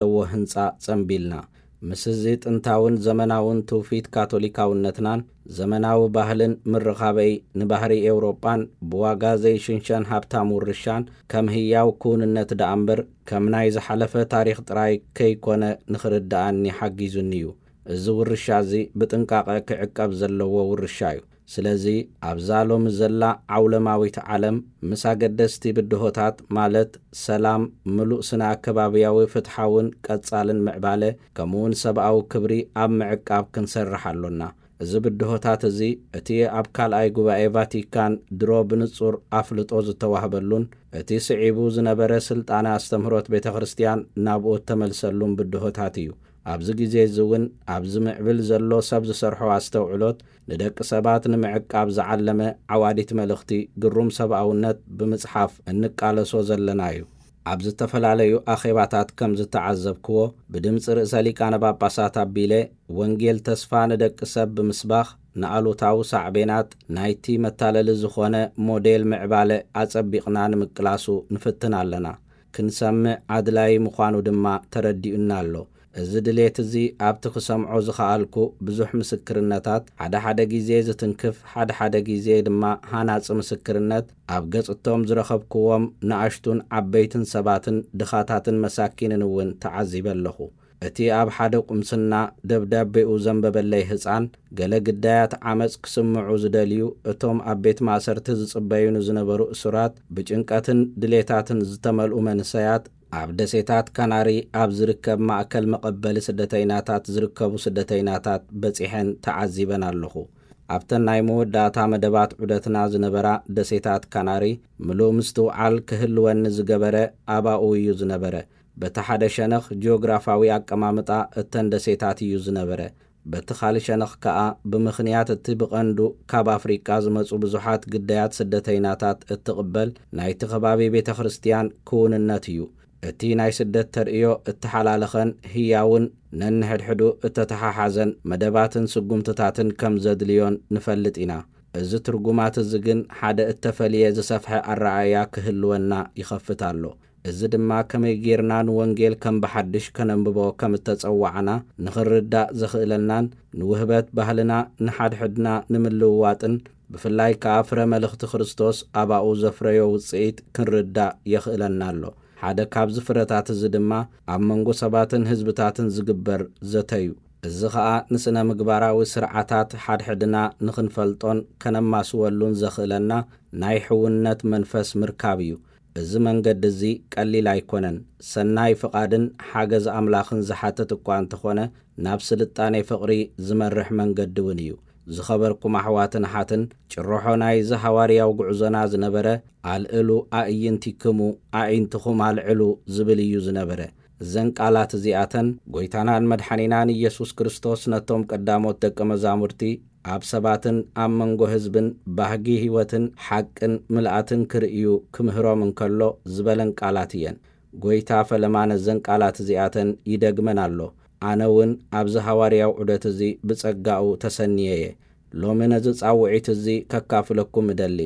ዘለዎ ህንጻ ጸምቢልና። ምስዚ ጥንታውን ዘመናውን ትውፊት ካቶሊካውነትናን ዘመናዊ ባህልን ምርኻበይ ንባህሪ ኤውሮጳን ብዋጋ ዘይሽንሸን ሃብታም ውርሻን ከም ህያው ክውንነት ደኣ እምበር ከም ናይ ዝሓለፈ ታሪኽ ጥራይ ከይኮነ ንኽርድኣኒ ሓጊዙኒ እዩ። እዚ ውርሻ እዚ ብጥንቃቐ ክዕቀብ ዘለዎ ውርሻ እዩ። ስለዚ ኣብዛ ሎሚ ዘላ ዓውለማዊት ዓለም ምስ ኣገደስቲ ብድሆታት ማለት ሰላም፣ ምሉእ ስነ ኣከባብያዊ ፍትሓውን ቀጻልን ምዕባለ ከምኡውን ሰብኣዊ ክብሪ ኣብ ምዕቃብ ክንሰርሕ ኣሎና። እዚ ብድሆታት እዚ እቲ ኣብ ካልኣይ ጉባኤ ቫቲካን ድሮ ብንጹር ኣፍልጦ ዝተዋህበሉን እቲ ስዒቡ ዝነበረ ስልጣነ ኣስተምህሮት ቤተ ክርስቲያን ናብኡ እተመልሰሉን ብድሆታት እዩ። ኣብዚ ግዜ እዚ እውን ኣብዚ ምዕብል ዘሎ ሰብ ዝሰርሖ ኣስተውዕሎት ንደቂ ሰባት ንምዕቃብ ዝዓለመ ዓዋዲት መልእኽቲ ግሩም ሰብኣውነት ብምጽሓፍ እንቃለሶ ዘለና እዩ። ኣብ ዝተፈላለዩ ኣኼባታት ከም ዝተዓዘብክዎ ብድምፂ ርእሰ ሊቃነ ጳጳሳት ኣቢለ ወንጌል ተስፋ ንደቂ ሰብ ብምስባኽ ንኣሉታዊ ሳዕቤናት ናይቲ መታለሊ ዝኾነ ሞዴል ምዕባለ ኣጸቢቕና ንምቅላሱ ንፍትን ኣለና። ክንሰምዕ ኣድላዪ ምዃኑ ድማ ተረዲኡና ኣሎ። እዚ ድሌት እዚ ኣብቲ ክሰምዖ ዝኸኣልኩ ብዙሕ ምስክርነታት፣ ሓደ ሓደ ግዜ ዝትንክፍ፣ ሓደ ሓደ ግዜ ድማ ሃናጺ ምስክርነት ኣብ ገጽቶም ዝረኸብክዎም ንኣሽቱን ዓበይትን ሰባትን ድኻታትን መሳኪንን እውን ተዓዚበ ኣለኹ። እቲ ኣብ ሓደ ቁምስና ደብዳቤኡ ዘንበበለይ ህጻን፣ ገለ ግዳያት ዓመጽ ክስምዑ ዝደልዩ እቶም ኣብ ቤት ማእሰርቲ ዝጽበዩ ንዝነበሩ እሱራት፣ ብጭንቀትን ድሌታትን ዝተመልኡ መንሰያት፣ ኣብ ደሴታት ካናሪ ኣብ ዝርከብ ማእከል መቐበሊ ስደተይናታት ዝርከቡ ስደተይናታት በጺሐን ተዓዚበን ኣለኹ። ኣብተን ናይ መወዳእታ መደባት ዑደትና ዝነበራ ደሴታት ካናሪ፣ ምሉእ ምስትውዓል ክህልወኒ ዝገበረ ኣባኡ እዩ ዝነበረ። በቲ ሓደ ሸነኽ ጂኦግራፋዊ ኣቀማምጣ እተን ደሴታት እዩ ዝነበረ። በቲ ካልእ ሸነኽ ከኣ፣ ብምኽንያት እቲ ብቐንዱ ካብ ኣፍሪቃ ዝመጹ ብዙሓት ግዳያት ስደተይናታት እትቕበል ናይቲ ከባቢ ቤተ ክርስቲያን ክውንነት እዩ። እቲ ናይ ስደት ተርእዮ እተሓላለኸን ህያውን ነንሕድሕዱ እተተሓሓዘን መደባትን ስጉምትታትን ከም ዘድልዮን ንፈልጥ ኢና። እዚ ትርጉማት እዚ ግን ሓደ እተፈልየ ዝሰፍሐ ኣረኣእያ ክህልወና ይኸፍት ኣሎ። እዚ ድማ ከመይ ጌርና ንወንጌል ከም ብሓድሽ ከነንብቦ ከም እተጸዋዕና ንኽንርዳእ ዘኽእለናን ንውህበት ባህልና ንሓድሕድና ንምልውዋጥን ብፍላይ ከኣ ፍረ መልእኽቲ ክርስቶስ ኣባኡ ዘፍረዮ ውጽኢት ክንርዳእ የኽእለና ኣሎ። ሓደ ካብዚ ፍረታት እዚ ድማ ኣብ መንጎ ሰባትን ህዝብታትን ዝግበር ዘተ እዩ። እዚ ኸኣ ንስነ ምግባራዊ ስርዓታት ሓድሕድና ንኽንፈልጦን ከነማስወሉን ዘኽእለና ናይ ሕውነት መንፈስ ምርካብ እዩ። እዚ መንገዲ እዚ ቀሊል ኣይኮነን። ሰናይ ፍቓድን ሓገዝ ኣምላኽን ዝሓትት እኳ እንተኾነ፣ ናብ ስልጣኔ ፍቕሪ ዝመርሕ መንገዲ እውን እዩ። ዝኸበርኩም ኣሕዋትን ኣሓትን፣ ጭርሖ ናይዚ ሃዋርያዊ ጉዕዞና ዝነበረ፣ "ኣልዕሉ ኣዕይንቲክሙ፣ ኣዒንትኹም ኣልዕሉ" ዝብል እዩ ዝነበረ። እዘን ቃላት እዚኣተን፣ ጐይታናን መድሓኒናን ኢየሱስ ክርስቶስ ነቶም ቀዳሞት ደቀ መዛሙርቲ፣ ኣብ ሰባትን ኣብ መንጎ ህዝብን ባህጊ ህይወትን ሓቅን ምልኣትን ክርእዩ ክምህሮም እንከሎ ዝበለን ቃላት እየን። ጐይታ ፈለማ ነዘን ቃላት እዚኣተን ይደግመን ኣሎ። ኣነ እውን ኣብዚ ሃዋርያዊ ዑደት እዚ ብጸጋኡ ተሰንየ እየ። ሎሚ ነዚ ጻውዒት እዚ ከካፍለኩም እደሊ።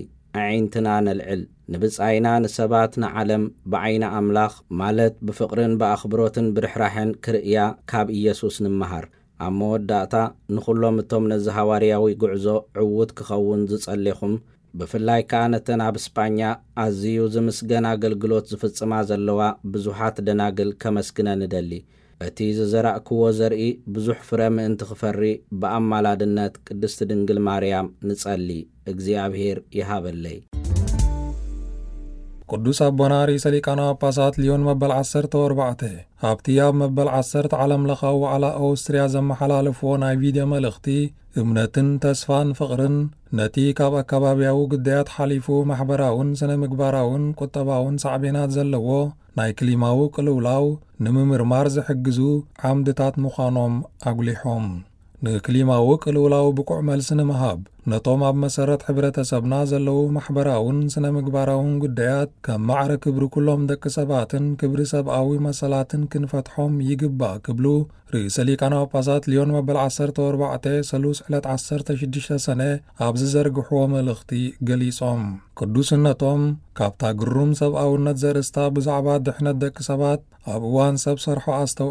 ኣዒንትና ነልዕል። ንብጻይና ንሰባት ንዓለም ብዓይኒ ኣምላኽ፣ ማለት ብፍቕርን ብኣኽብሮትን ብርሕራሐን ክርእያ ካብ ኢየሱስ ንምሃር። ኣብ መወዳእታ፣ ንኹሎም እቶም ነዚ ሃዋርያዊ ጉዕዞ ዕዉት ክኸውን ዝጸሌኹም፣ ብፍላይ ከኣ ነተን ኣብ ስጳኛ ኣዝዩ ዝምስገን ኣገልግሎት ዝፍጽማ ዘለዋ ብዙሓት ደናግል ከመስግነን እደሊ። እቲ ዝዘራእክዎ ዘርኢ ብዙሕ ፍረ ምእንቲ ክፈሪ ብኣማላድነት ቅድስቲ ድንግል ማርያም ንጸሊ። እግዚኣብሔር ይሃበለይ። ቅዱስ ኣቦና ርእሰ ሊቃነ ጳጳሳት ሊዮን መበል ዓሰርተ ኣርባዕተ፣ ኣብቲ ኣብ መበል ዓሰርተ ዓለም ለኻዊ ዋዕላ ኦስትርያ ዘመሓላለፍዎ ናይ ቪድዮ መልእኽቲ፣ እምነትን ተስፋን ፍቕርን፣ ነቲ ካብ ኣካባብያዊ ግዳያት ሓሊፉ ማሕበራውን ስነ ምግባራውን ቁጠባውን ሳዕቤናት ዘለዎ ናይ ክሊማዊ ቅልውላው ንምምርማር ዝሕግዙ ዓምድታት ምዃኖም ኣጉሊሖም። ንክሊማዊ ቅልውላው ብቑዕ መልሲ ንምሃብ፣ ነቶም ኣብ መሰረት ሕብረተሰብና ዘለዉ ማሕበራውን ስነ ምግባራውን ጉዳያት ከም ማዕረ ክብሪ ኩሎም ደቂ ሰባትን ክብሪ ሰብኣዊ መሰላትን ክንፈትሖም ይግባእ ክብሉ ርእሰ ሊቃነ ጳጳሳት ሊዮን መበል ዓሰርተ ኣርባዕተ ሰሉስ ዕለት ዓሰርተ ሽዱሽተ ሰነ ኣብ ዝዘርግሕዎ መልእኽቲ ገሊጾም። ቅዱስነቶም ካብታ ግሩም ሰብኣውነት ዘርእስታ ብዛዕባ ድሕነት ደቂ ሰባት ኣብ እዋን ሰብ ሰርሖ ኣስተው